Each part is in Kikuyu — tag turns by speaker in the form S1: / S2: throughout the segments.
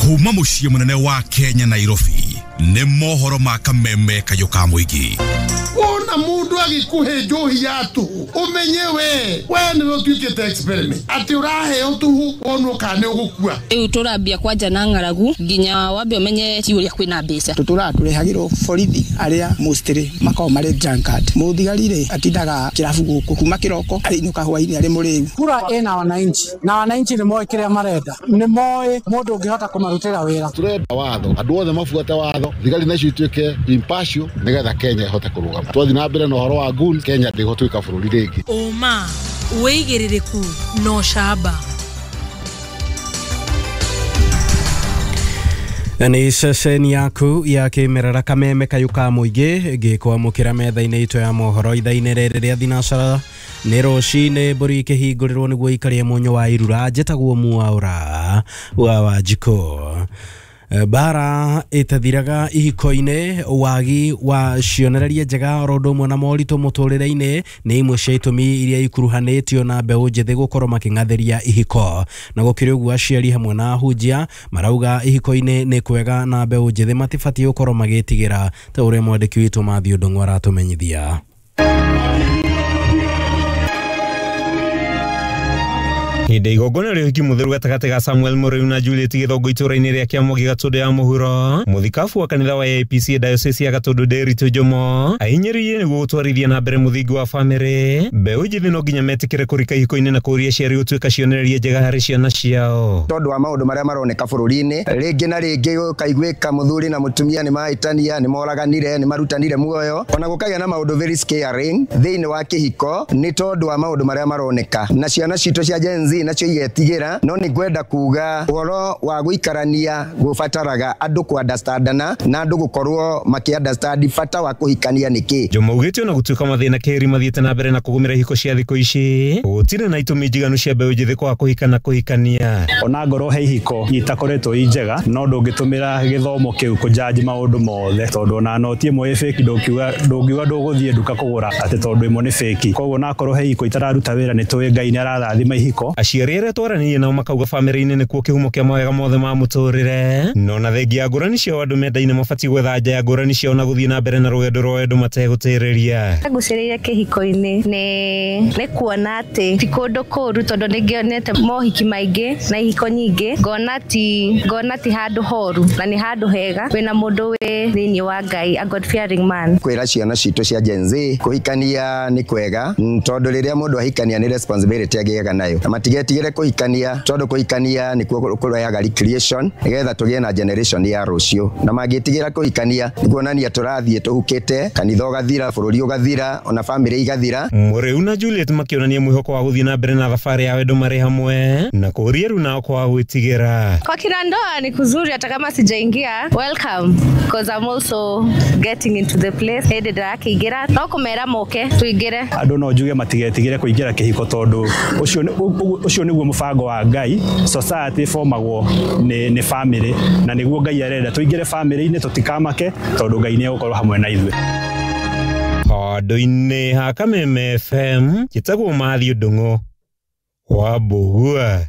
S1: Kuma mũciĩ mũnene wa Kenya Nairobi nĩ mohoro ma kameme kayũ ka mũingĩ.
S2: Wona mundu agikuhe njohi ya tuhu umenye we niwe utuikite experiment ati uraheo tuhu wonwo kana ni ugukua.
S3: Riu turambia kwanja na ng'aragu nginya wambe umenye ti uria kwina mbeca.
S4: Tutura turehagirwo borithi aria mostly makoragwo mari drunkard. Muthigari ri atindaga kirabu guku kuma kiroko ariinuka hwaini ari muriu.
S5: Kura ina wananchi na wananchi ni moe kiria marenda, ni moe mundu ungihota kumarutira wira.
S6: Turenda watho andu othe mabuate watho, thigari nacio ituike impartial nigetha Kenya ihote kurugama. Twathi na mbere na uhoro wa goons, Kenya ndigũtuĩka bũrũri rĩngĩ.
S7: Ũma wĩigĩrĩrĩku no camba.
S8: Nĩ ceceni yaku ya kĩmerera kameme kayũ ka mũingĩ ngĩkwamũkĩra metha-inĩ itũ ya mohoro ithaa-inĩ rĩrĩ rĩa thinacara. Nĩ rũcinĩ mbũri ikĩhingũrĩrwo nĩguo ikarie mũnyũ wa irura. Njĩtagwo Mwaũra wa Wanjikũ. Bara ĩtathiraga ihiko-inĩ, wagi wa cionereria njega oro ũndũ ũmwe na moritũ mũtũrĩre-inĩ nĩ imwe cia itũmi iria ikuruhanĩtio na mbeũ njĩthĩ gũkorwo makĩng'athĩria ihiko. Na gũkĩrĩ ũguo aciari hamwe na ahunjia marauga ihiko-inĩ nĩ kwega na mbeũ njĩthĩ matibatiĩ gũkorwo magĩtigĩra, ta ũrĩa mwandĩki witũ Matthew Ndung'u aratũmenyithia.
S9: Hĩndĩ igongona rĩa ũhiki mũtheru gatagatĩ ga Samuel Mũrĩu na Juliet Gĩthongo itũũra-inĩ rĩa Kĩamũgĩ Gatũndũ ya mũhuro, mũthikabu wa kanitha wa AIPC Diocese ya Gatũndũ Nderitu Njomo ahinyĩrĩirie nĩguo gũtwarithia na mbere mũthingi wa bamĩrĩ. Mbeũ njĩthĩ no nginya metĩkĩre kũrika ihiko-inĩ na kũũria aciari gũtuĩka cionereria njega harĩ ciana ciao.
S10: Tondũ wa maũndũ marĩa maroneka bũrũri-inĩ, rĩngĩ na rĩngĩ gũkaiguĩka mũthuri na mũtumia nĩ mahĩtania, nĩ moraganire, nĩ marutanire muoyo, ona gũkagĩa na maũndũ very scaring thĩinĩ wa kĩhiko nĩ tondũ wa maũndũ marĩa maroneka, na ciana citũ cia Gen Z nacio igetigĩra. No nĩ ngwenda kuga ũhoro wa gũikarania gũbataraga andũ ku understandana na andũ gũkorwo makĩ understand bata wa kũhikania nĩkĩ.
S9: Njomo augĩte ona gũtuĩka mathĩna kĩrĩ mathiĩte na mbere na kũgũmĩra ihiko cia thikũ ici, gũtirĩ na itũmi njiganu cia mbeũ njĩthĩ kwaga kũhika na kũhikania.
S11: Ona ngorwo he ihiko itakoretwo i njega, no ndũngĩtũmĩra gĩthomo kĩu kũjaji maũndũ mothe, tondũ ona noti ĩmwe ĩ fake ndũngiuga ndũgũthiĩ nduka kũgũra atĩ tondũ ĩmwe nĩ fake. Koguo onakorwo he ihiko itararuta wĩra, nĩ tũĩ Ngai nĩ ararathima ihiko.
S9: Aciari arĩa twaranĩirie nao makauga bamĩrĩ-inĩ nĩkuo kĩhumo kĩa mawega mothe ma mũtũrĩre, no na thengia ya ngũrani ciao andũ mendaine mabatiĩ gwetha nja ya ngũrani ciao na gũthiĩ na mbere na rũgendo rwa wendo mategũtĩrĩria.
S12: Ngucĩrĩire kĩhiko-inĩ nĩ kuona atĩ ti kũndũ kũũru, tondũ nĩngĩonete mohiki maingĩ na ihiko nyingĩ, ngona ti handũ horu na nĩ handũ hega wĩna mũndũ wĩ thĩinĩ wa Ngai, a God fearing man.
S10: Kwĩra ciana citũ cia Gen Z kũhikania nĩ kwega, tondũ rĩrĩa mũndũ ahikania nĩ responsibility agĩaga nayo, na matigetigĩre kũhikania tondũ kũhikania nĩkuo kũrehaga recreation nĩgetha tũgĩe na generation ya rũciũ. Na mangĩtigĩra kũhikania nĩ kuonania tũrathiĩ tũhukĩte, kanitha ũgathira, bũrũri ũgathira, ona bamĩrĩ igathira.
S9: Mũrĩu na Juliet makĩonania mwĩhoko wa gũthiĩ na mbere na thabarĩ ya wendo marĩ hamwe na kũũria rĩu nao kwaga gwĩtigĩra.
S12: Kwa kina ndoa ni kuzuri, hata kama sijaingia, welcome because I'm also getting into the place. Hĩndĩ ndĩrakĩingĩra no kũmera moke tũingĩre.
S11: Andũ no njuge matigetigĩre kũingĩra kĩhiko tondũ ũcio nĩguo mũbango wa Ngai. Society formagwo nĩ family, na nĩguo Ngai arenda tũingĩre family-inĩ, tũtikamake tondũ Ngai nĩ egũkorwo hamwe na ithuĩ.
S9: Handũ-inĩ ha Kameme FM njĩtagwo Matthew Ndung'u wa Mbũgua.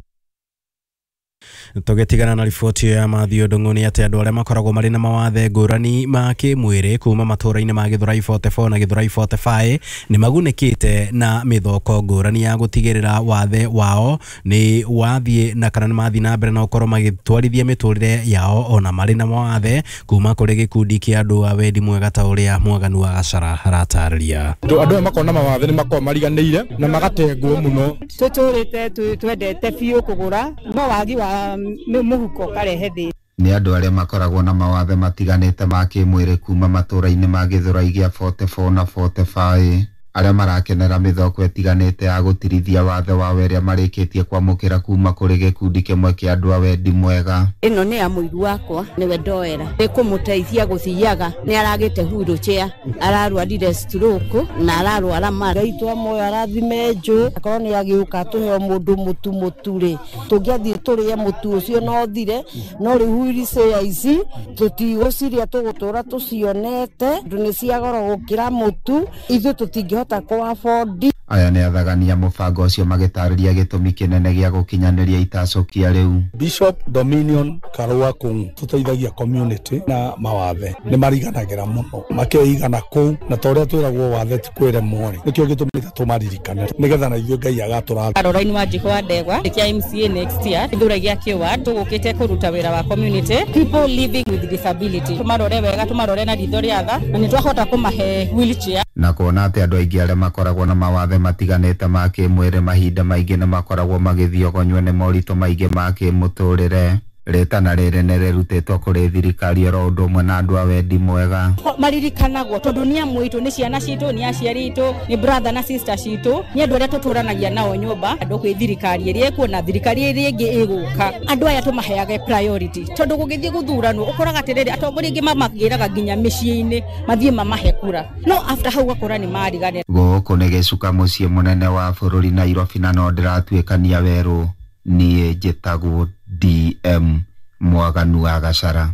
S8: Tũgĩtigana na riboti ya Matthew Ndung'u nĩ atĩ andũ arĩa makoragwo marĩ na mawathe ngũrani ma kĩmwĩrĩ kuma matũũra-inĩ ma Gĩthũrai 44 na Gĩthũrai 45 nĩ magunĩkĩte na mĩthoko ngũrani ya gũtigĩrĩra wathe wao nĩ wathiĩ na kana nĩ mathiĩ na mbere na gũkorwo magĩtwarithia mĩtũrĩre yao ona marĩ na mawathe kuma kũrĩ gĩkundi kĩa andũ a wendi mwega ta ũrĩa Mwaganu wa Gacara aratarĩria.
S13: Andũ aya makoragwo na mawathe nĩ makoragwo mariganĩire na magatengwo mũno.
S14: Tũtũrĩte twendete biũ kũgũra, no wagi wa mũhuko karehe thĩna.
S15: Nĩ andũ arĩa makoragwo na mawathe matiganĩte ma kĩmwĩrĩ kuma matũũra-inĩ ma Gĩthũrai gĩa 44 na 45 arĩa marakenera mĩthoko ĩtiganĩte ya gũtirithia wathe wao ĩrĩa marĩkĩtie kwamũkĩra kuma kũrĩ gĩkundi kĩmwe kĩa andũ a wendi mwega.
S16: Ĩno nĩ ya mũiru wakwa, nĩwe ndoera, nĩ kũmũteithia gũthiaga, nĩ aragĩte wheelchair, ararwarire stroke na ararwara mara.
S17: Ngai twamuoya arathime njũ, akorwo nĩ agĩũka tũheo mũndũ mũtu mũtu rĩ, tũngĩathiĩ tũrĩe mũtu ũcio no ũthire, no rĩu wheelchair ici tũtigũciria, tũgũtũra tũcionete, tondũ nĩ cia goro gũkĩra mũtu, ithuĩ tũtingĩhota kũ afford.
S15: Aya nĩ athagania mũbango ũcio magĩtarĩria gĩtũmi kĩnene gĩa gũkinyanĩria itacũkia rĩu.
S13: Bishop Dominion Karua Kung'u tũteithagia community na mawathe nĩ mariganagĩra mũno makeigana kũu, na ta ũrĩa twĩragwo wathe ti kwĩremwo rĩ, nĩkĩo gĩtũmĩte tũmaririkane nĩgetha na ithuĩ Ngai agatũrathima.
S14: Caroline Wanjikũ wa Ndegwa kĩa MCA next year gĩthurano gĩa kĩward tũgũkĩte kũruta wĩra wa community people living with disability, tũmarore wega, tũmarore na ritho rĩa tha, na nĩ twahota kũmahe wheelchair.
S15: Na kuona atĩ andũ aingĩ arĩa makoragwo na mawathe matiganĩte ma kĩmwĩrĩ mahinda maingĩ nĩ makoragwo magĩthiogonywo nĩ moritũ maingĩ ma kĩmũtũrĩre, rĩtana rĩrĩ nĩ rĩrutĩtwo kũrĩ thirikari oro ũndũ ũmwe na andũ a wendi mwega.
S14: Maririkanagwo tondũ nĩ amwe itũ, nĩ ciana citũ, nĩ aciari itũ, nĩ brother na sister citũ, nĩ andũ arĩa tũtũranagia nao nyũmba. Andũ kwĩ thirikari ĩrĩa ĩkuo na thirikari ĩrĩa ĩngĩ ĩgũka, andũ aya tũmaheage priority, tondũ gũgĩthiĩ gũthuranwo ũkoraga atĩrĩrĩ, atongoria aingĩ mamagĩraga nginya mĩciĩ-inĩ mathiĩ mamahe kura, no after hau ũgakora nĩ mariganĩra.
S15: Gũkũ nĩ gĩcuka mũciĩ mũnene wa bũrũri Nairobi, na no ndĩratuĩkania werũ. Niĩ njĩtagwo DM Mwaganu wa Gacara.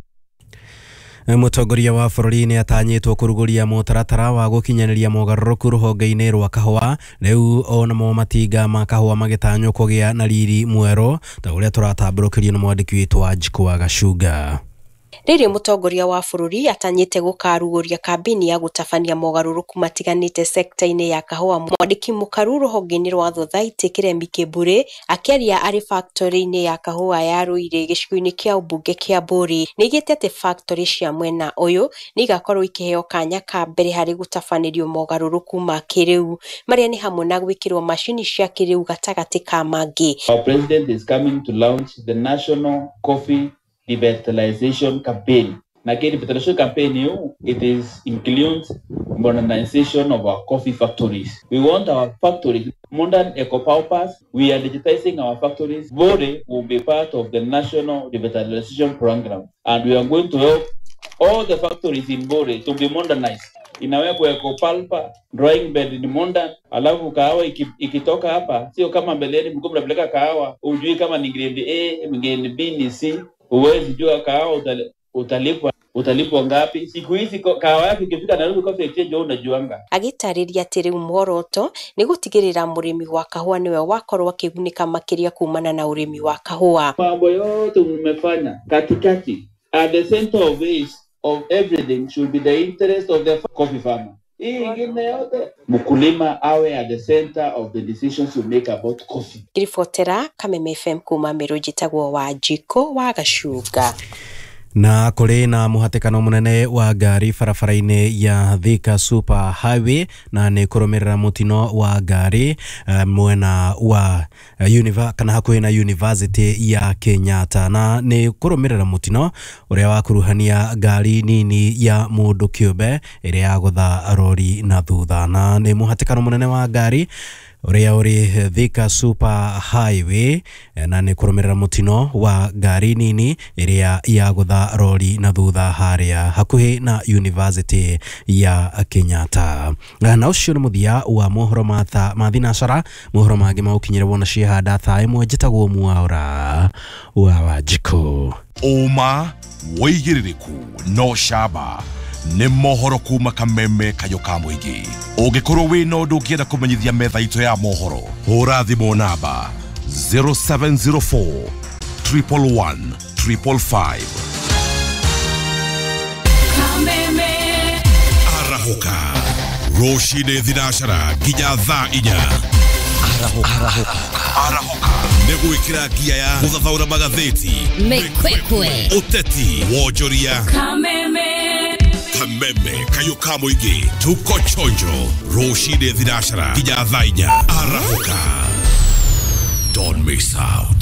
S8: Mũtongoria wa bũrũri nĩ atanyĩtwo kũrugũria mũtaratara wa gũkinyanĩria mogarũrũku rũhonge-inĩ rwa kahũa. Rĩu onamo matinga ma kahũa magĩtanywo kũgĩa na riri mwerũ, ta ũrĩa tũratambũrũkĩrio nĩ mwandĩki witũ wa Njikũ wa Gacunga.
S18: Rĩrĩ mũtongoria wa bũrũri atanyĩte gũkarugũria kambĩini ya gũtabania mogarũrũku matiganĩte sekta-inĩ ya kahũa. Mwandĩki mũkaru rũhonge-inĩ rwa Thothaitĩ Kĩremi Kĩmbũrĩ akĩaria arĩ factory-inĩ ya kahũa ya Ruiru gĩcigo-inĩ kĩa ũmbunge kĩa Mbũri nĩaigĩte atĩ factory cia mwena ũyũ nĩ igakorwo ikĩheo kanya ka mbere harĩ gũtabanĩrio mogarũrũku ma kĩrĩu marĩa nĩ hamwe na gwĩkĩrwo macini cia kĩrĩu gatagatĩ ka mangĩ.
S19: Our president is coming to launch the National Coffee Revitalization Campaign. Na revitalization campaign hiyo, it is includes modernization of our coffee factories. We want our factories modern eco pulpers. We are digitizing our factories. Bore will be part of the National Revitalization Program, and we are going to help all the factories in Bore to be modernized. Inawekwa eco pulper, drying bed ni modern, alafu kahawa ikitoka hapa sio kama mbeleni mlikuwa mnapeleka kahawa hujui kama ni grade A, grade B ni C. Huwezi jua kahawa utalipwa ngapi. Siku hizi kahawa yako ikifika Nairobi Coffee Exchange wewe unajuanga.
S18: Agĩtarĩria atĩ rĩu muoroto nĩ gũtigĩrĩra mũrĩmi wa kahũa nĩwe wakorwo akĩgunĩka makĩria kumana na ũrĩmi wa kahũa.
S19: Mambo yote umefanya katikati, at the center of this of everything should be the interest of the coffee farmer. Hii ingine yote mkulima awe at the center of the decisions you make about coffee.
S18: Ngĩribotera Kameme FM kuma Meru, njĩtagwo Wanjikũ wa Gacunga.
S8: Na kũrĩ na mũhatĩkano mũnene wa ngari barabara-inĩ ya Thika Super Highway, na nĩ kũrũmĩrĩra mũtino wa ngari mwena wa kana hakuhĩ na University ya Kenyatta, na nĩ kũrũmĩrĩra mũtino ũrĩa wakuruhania ngari nini ya mũndũ kĩũmbe ĩrĩa yagũtha rori na thutha, na nĩ mũhatĩkano mũnene wa ngari ũrĩa ũrĩ Thika Super Highway, na nĩ kũrũmĩrĩra mũtino wa ngari nini ĩrĩa yagũtha rori na thutha harĩa hakuhĩ na University ya Kenyatta. Na ũcio nĩ mũthia wa mohoro ma thinacara. Mohoro mangĩ magũkinyĩra wona ciehanda thaa ĩmwe. Njĩtagwo Mwaura wa Wanjikũ.
S1: Ũma wĩigĩrĩrĩku no camba nĩ mohoro kuma Kameme kayũ ka mũingĩ. Ũngĩkorwo wĩna ũndũ ũngĩenda kũmenyithia metha itũ ya mohoro, hũra thimũ namba 0704 111 555.
S7: Kameme
S1: arahũka rũcinĩ thinacara nginya thaa inya. Arahũka nĩ gwĩkĩra ngia ya gũthathaũra magathĩti,
S7: mĩkwekwe,
S1: ũteti, wonjoria.
S7: Kameme
S1: Kameme kayũ ka mũingĩ, tuko chonjo rũcinĩ thinacara nginya thaa inya. Arahũka, don't miss out.